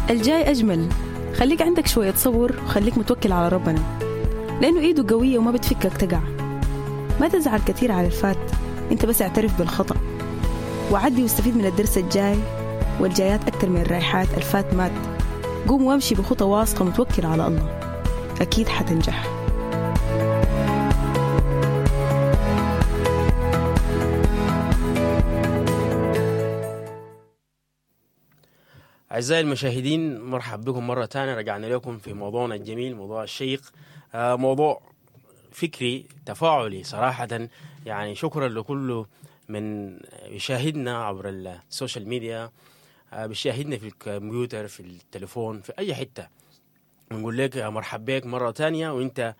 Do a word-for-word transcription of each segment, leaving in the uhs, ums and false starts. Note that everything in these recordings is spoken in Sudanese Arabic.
الجاي أجمل. خليك عندك شوية صبر وخليك متوكل على ربنا، لأنه إيده قوية وما بتفكك تقع. ما تزعل كثير على الفات، أنت بس اعترف بالخطأ وعدي واستفيد من الدرس الجاي والجايات أكتر من الرايحات. الفات مات، قوم وامشي بخطى واثقة متوكل على الله، أكيد حتنجح. أعزائي المشاهدين، مرحب بكم مرة ثانية. رجعنا لكم في موضوعنا الجميل، موضوع الشيق، موضوع فكري تفاعلي صراحة. يعني شكرا لكل من يشاهدنا عبر ال social media، بيشاهدنا في الكمبيوتر، في التليفون، في أي حتة. نقول لك مرحب بك مرة ثانية وانت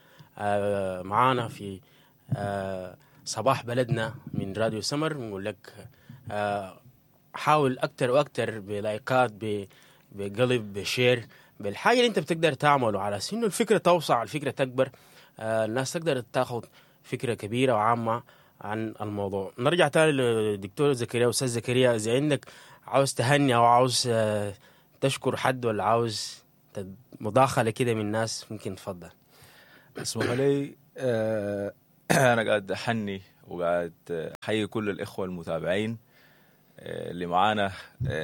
معانا في صباح بلدنا من راديو سمر. نقول لك حاول أكتر وأكتر بلايكات، بقلب، ب share، بالحاجة اللي أنت بتقدر تعمله على أساس إنه الفكرة توسع، الفكرة تكبر، آه الناس تقدر تاخذ فكرة كبيرة وعامة عن الموضوع. نرجع تاني للدكتور زكريا. أستاذ زكريا، إذا عندك عاوز تهني أو عاوز آه تشكر حد ولا عاوز مداخلة كده من الناس، ممكن تفضل. اسمح لي، آه أنا قاعد أحني وقاعد أحيي كل الإخوة المتابعين اللي معانا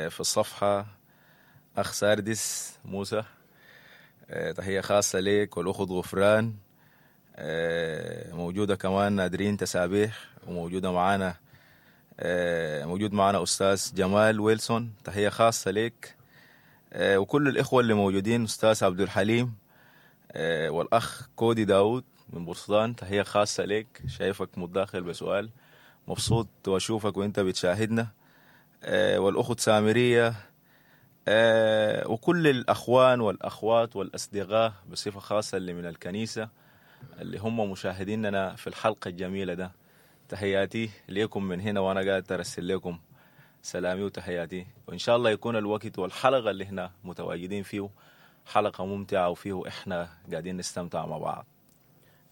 في الصفحة. أخ ساردس موسى، تحية خاصة ليك، والأخت غفران موجودة كمان، نادرين تسابيح، وموجودة معانا موجود معانا أستاذ جمال ويلسون، تحية خاصة ليك، وكل الإخوة اللي موجودين، أستاذ عبد الحليم والأخ كودي داود من بورسودان، تحية خاصة ليك، شايفك متداخل بسؤال، مبسوط وأشوفك وإنت بتشاهدنا، والأخت سامرية، وكل الأخوان والأخوات والأصدقاء بصفة خاصة اللي من الكنيسة اللي هم مشاهديننا في الحلقة الجميلة ده. تحياتي ليكم من هنا، وأنا قاعد أرسل لكم سلامي وتحياتي، وإن شاء الله يكون الوقت والحلقة اللي هنا متواجدين فيه حلقة ممتعة وفيه إحنا قاعدين نستمتع مع بعض.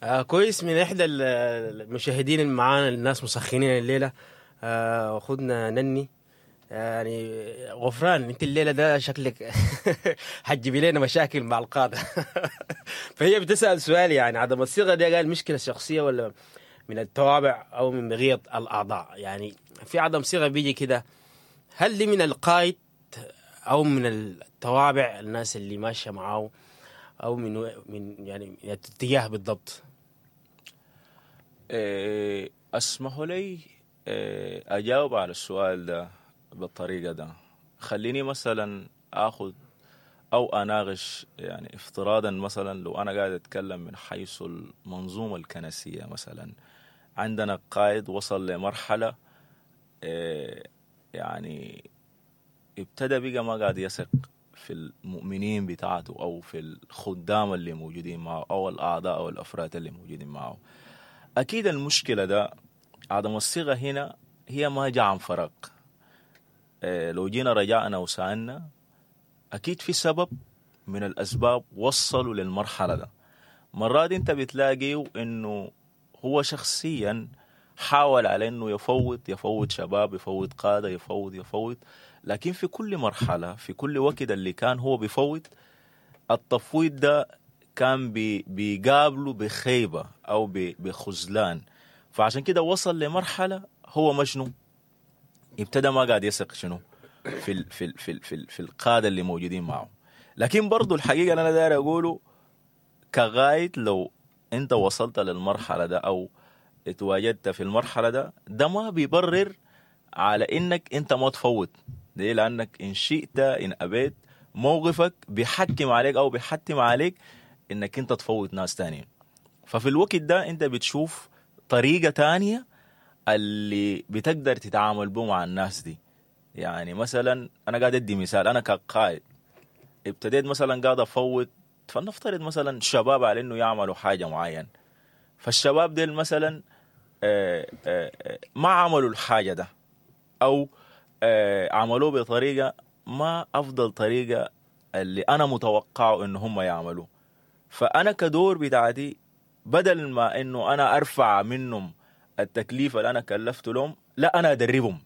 آه كويس. من إحدى المشاهدين اللي معانا، الناس مسخنين الليلة، آه خدنا نني يعني غفران، انت الليلة ده شكلك حتجيبي لنا مشاكل مع القادة. فهي بتسال سؤال، يعني عدم الصيغة دي قال مشكلة شخصية ولا من التوابع او من بغية الاعضاء؟ يعني في عدم صيغة بيجي كده، هل دي من القائد او من التوابع الناس اللي ماشية معاه، او من من يعني الاتجاه بالضبط؟ اسمحوا لي اجاوب على السؤال ده بالطريقة ده. خليني مثلا أخذ أو أناقش، يعني افتراضا مثلا لو أنا قاعد أتكلم من حيث المنظومة الكنسية، مثلا عندنا قائد وصل لمرحلة يعني ابتدى بقى ما قاعد يثق في المؤمنين بتاعته أو في الخدام اللي موجودين معه أو الأعضاء أو الأفراد اللي موجودين معه. أكيد المشكلة ده عدم الصيغة هنا هي ما جاء عن فراغ. لو جينا رجعنا وسألنا أكيد في سبب من الأسباب وصلوا للمرحلة ده. مرات أنت بتلاقي إنه هو شخصيا حاول على إنه يفوت يفوت شباب، يفوت قادة، يفوت يفوت، لكن في كل مرحلة في كل وقت اللي كان هو بيفوت، التفويض ده كان بي بيقابله بخيبة أو بخذلان. فعشان كده وصل لمرحلة هو مشنو ابتدى ما قاعد يثق شنو في ال في ال في ال في, ال في القادة اللي موجودين معه. لكن برضو الحقيقة اللي انا داير اقوله كغاية، لو انت وصلت للمرحلة ده او اتواجدت في المرحلة ده، ده ما بيبرر على انك انت ما تفوت. ليه؟ لانك ان شئت ان ابيت موقفك بيحكم عليك او بيحتم عليك انك انت تفوت ناس تانيين. ففي الوقت ده انت بتشوف طريقه تانية اللي بتقدر تتعامل به مع الناس دي. يعني مثلا انا قاعد ادي مثال، انا كقائد ابتديت مثلا قاعد افوت، فلنفترض مثلا شباب على انه يعملوا حاجة معينة، فالشباب ديل مثلا آآ آآ ما عملوا الحاجة ده او عملوه بطريقة ما افضل طريقه اللي انا متوقعه ان هم يعملوه. فانا كدور بتاعتي بدل ما انه انا ارفع منهم التكليف اللي انا كلفته لهم، لا انا ادربهم.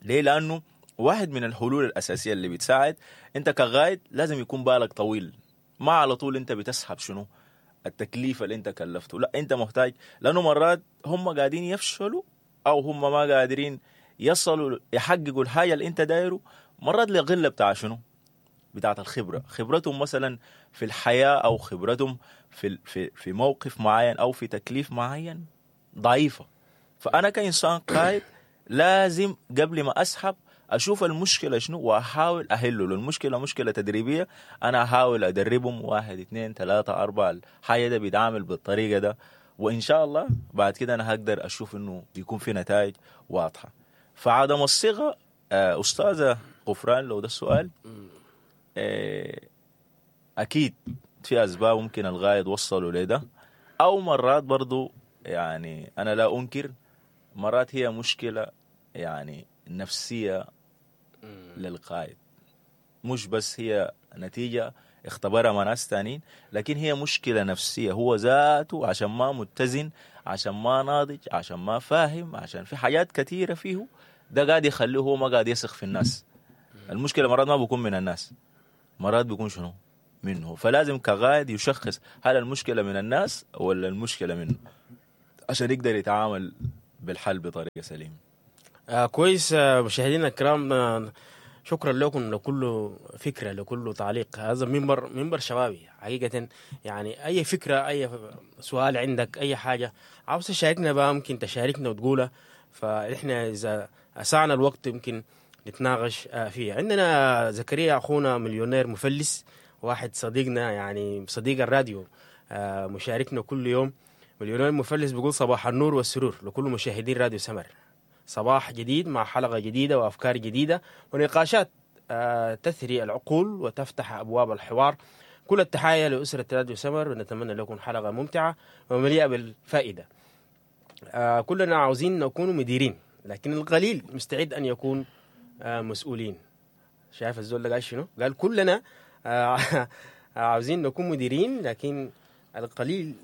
ليه؟ لانه واحد من الحلول الاساسية اللي بتساعد انت كقائد لازم يكون بالك طويل، ما على طول انت بتسحب شنو التكليف اللي انت كلفته، لا انت محتاج، لانه مرات هم قاعدين يفشلوا او هم ما قادرين يصلوا يحققوا الحاجة اللي انت دايرة، مرات لقلة بتاع شنو بتاعت الخبرة، خبرتهم مثلا في الحياة او خبرتهم في في في موقف معين او في تكليف معين ضعيفة. فانا كانسان قائد لازم قبل ما اسحب اشوف المشكلة شنو واحاول احله. لو المشكلة مشكلة تدريبية انا احاول ادربهم واحد اثنين ثلاثة اربعة، الحاجة ده بيتعامل بالطريقة ده، وان شاء الله بعد كده انا هقدر اشوف انه بيكون في نتائج واضحة. فعدم الصيغة استاذه غفران لو ده السؤال، اكيد في اسباب ممكن الغايد وصلوا لده، او مرات برضو يعني انا لا انكر مرات هي مشكلة يعني نفسية للقائد، مش بس هي نتيجة اختبرها مع ناس تانيين، لكن هي مشكلة نفسية هو ذاته، عشان ما متزن، عشان ما ناضج، عشان ما فاهم، عشان في حاجات كثيرة فيه ده قاعد يخليه هو ما قاعد يثق في الناس. المشكلة مرات ما بيكون من الناس، مرات بيكون شنو منه. فلازم كقائد يشخص هل المشكلة من الناس ولا المشكلة منه عشان يقدر يتعامل بالحل بطريقة سليمة. آه كويس. آه مشاهدينا الكرام، آه شكرا لكم لكل فكرة، لكل تعليق. هذا منبر منبر شبابي حقيقة، يعني أي فكرة، أي سؤال عندك، أي حاجة عاوز تشاركنا بقى ممكن تشاركنا وتقولها، فإحنا إذا أسعنا الوقت يمكن نتناقش فيها. عندنا زكريا أخونا مليونير مفلس، واحد صديقنا يعني صديق الراديو، مشاركنا كل يوم. مليونير مفلس بيقول صباح النور والسرور لكل مشاهدين راديو سمر، صباح جديد مع حلقة جديدة وأفكار جديدة ونقاشات تثري العقول وتفتح أبواب الحوار. كل التحايا لأسرة راديو سمر، ونتمنى لكم حلقة ممتعة ومليئة بالفائدة. كلنا عاوزين نكون مديرين، لكن القليل مستعد أن يكون مسؤولين. شايف الزول ده قال شنو؟ قال كلنا عاوزين نكون مديرين، لكن القليل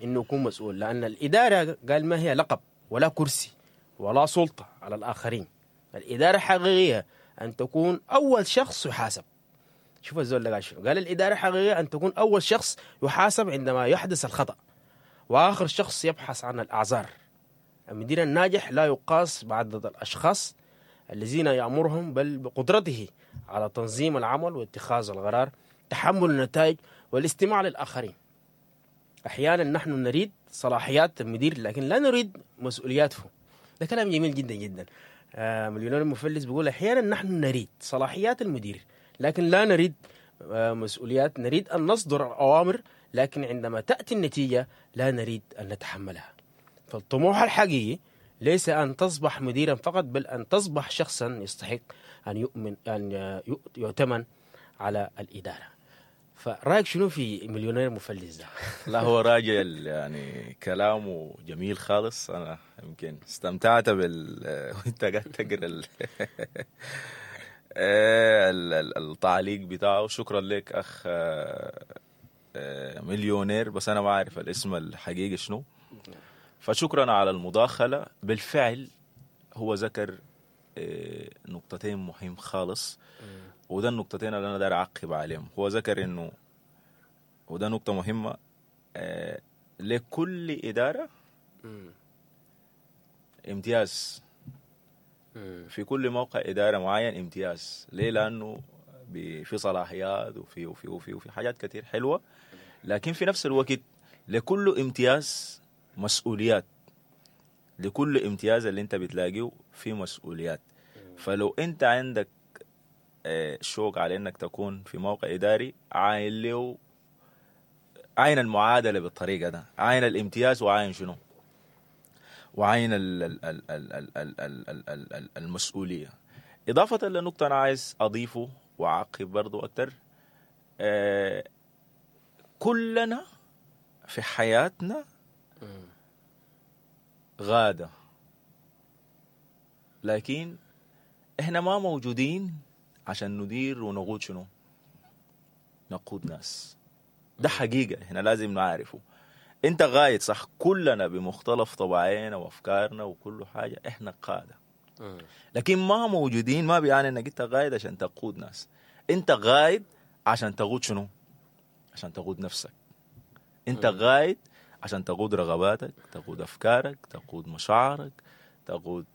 إنه يكون مسؤول، لأن الإدارة قال ما هي لقب ولا كرسي ولا سلطة على الآخرين. الإدارة حقيقية أن تكون أول شخص يحاسب. شوف الزول ده قال شنو؟ قال الإدارة حقيقية أن تكون أول شخص يحاسب عندما يحدث الخطأ، وآخر شخص يبحث عن الأعذار. المدير الناجح لا يقاس بعدد الأشخاص الذين يأمرهم، بل بقدرته على تنظيم العمل واتخاذ القرار، تحمل النتائج، والاستماع للآخرين. أحيانا نحن نريد صلاحيات المدير لكن لا نريد مسؤولياته. ده كلام جميل جدا جدا. آه مليونير المفلس بيقول أحيانا نحن نريد صلاحيات المدير لكن لا نريد آه مسؤوليات، نريد أن نصدر الأوامر لكن عندما تأتي النتيجة لا نريد أن نتحملها. فالطموح الحقيقي ليس أن تصبح مديرا فقط، بل أن تصبح شخصا يستحق أن يؤمن أن يؤتمن على الإدارة. فرأيك شنو في مليونير مفلس ده؟ لا هو راجل يعني كلامه جميل خالص، أنا يمكن استمتعت بال وأنت قاعد تقرأ ال... التعليق بتاعه. شكرا لك أخ مليونير، بس أنا ما أعرف الاسم الحقيقي شنو، فشكرا على المداخلة. بالفعل هو ذكر نقطتين مهم خالص، وده النقطتين اللي أنا داير أعقب عليهم. هو ذكر إنه، وده نقطة مهمة، لكل إدارة امتياز، في كل موقع إدارة معين امتياز. ليه؟ لأنه في صلاحيات وفي وفي وفي وفي حاجات كتير حلوة، لكن في نفس الوقت لكل امتياز مسؤوليات، لكل امتياز اللي انت بتلاقيه في مسؤوليات. فلو انت عندك شوق على انك تكون في موقع اداري، عاين له، عاين المعادلة بالطريقة ده، عاين الامتياز وعاين شنو، وعاين ال ال ال ال ال ال ال ال ال المسؤولية. اضافه لنقطة انا عايز اضيفه واعقب برضو اكتر، كلنا في حياتنا غادة، لكن احنا ما موجودين عشان ندير ونقود شنو، نقود ناس. ده حقيقة احنا لازم نعرفه. انت غايد صح، كلنا بمختلف طبعينا وافكارنا وكل حاجة احنا قادة، لكن ما موجودين ما بيعني انك انت قائد عشان تقود ناس. انت قائد عشان تقود شنو؟ عشان تقود نفسك. انت قائد عشان تقود رغباتك، تقود افكارك، تقود مشاعرك، تقود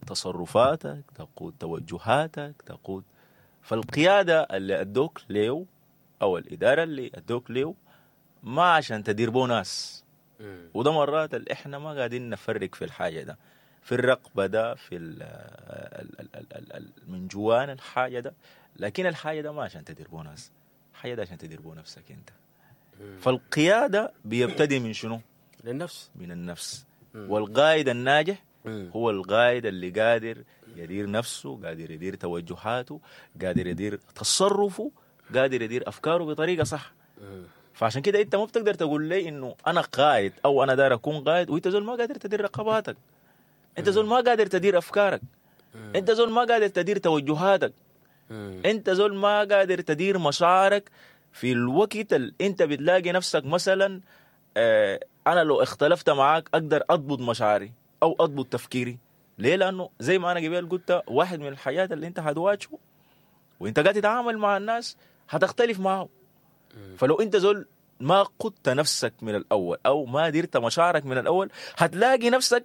تصرفاتك، تقود توجهاتك، تقود. فالقيادة اللي أدوك ليو أو الإدارة اللي أدوك ليو ما عشان تدير بو ناس. وده مرات اللي إحنا ما قاعدين نفرق في الحاجة ده، في الرقبة ده، في ال ال ال ال ال ال من جوان الحاجة ده. لكن الحاجة ده ما عشان تدير بو ناس، الحاجة ده عشان تدير بو نفسك أنت. فالقيادة بيبتدي من شنو؟ للنفس، من النفس. والقائد الناجح هو القائد اللي قادر يدير نفسه، قادر يدير توجهاته، قادر يدير تصرفه، قادر يدير أفكاره بطريقة صح. فعشان كده أنت ما بتقدر تقول لي إنه أنا قائد أو أنا داير أكون قائد وأنت زول ما قادر تدير رقباتك، أنت زول ما قادر تدير أفكارك، أنت زول ما قادر تدير توجهاتك، أنت زول ما قادر تدير مشاعرك في الوقت اللي أنت بتلاقي نفسك مثلا آه أنا لو اختلفت معاك أقدر أضبط مشاعري أو أضبط تفكيري. ليه؟ لأنه زي ما أنا قبل قلت واحد من الحاجات اللي أنت هتواجهه وأنت قاعد تتعامل مع الناس هتختلف معه. فلو أنت زول ما قدت نفسك من الأول أو ما ديرت مشاعرك من الأول هتلاقي نفسك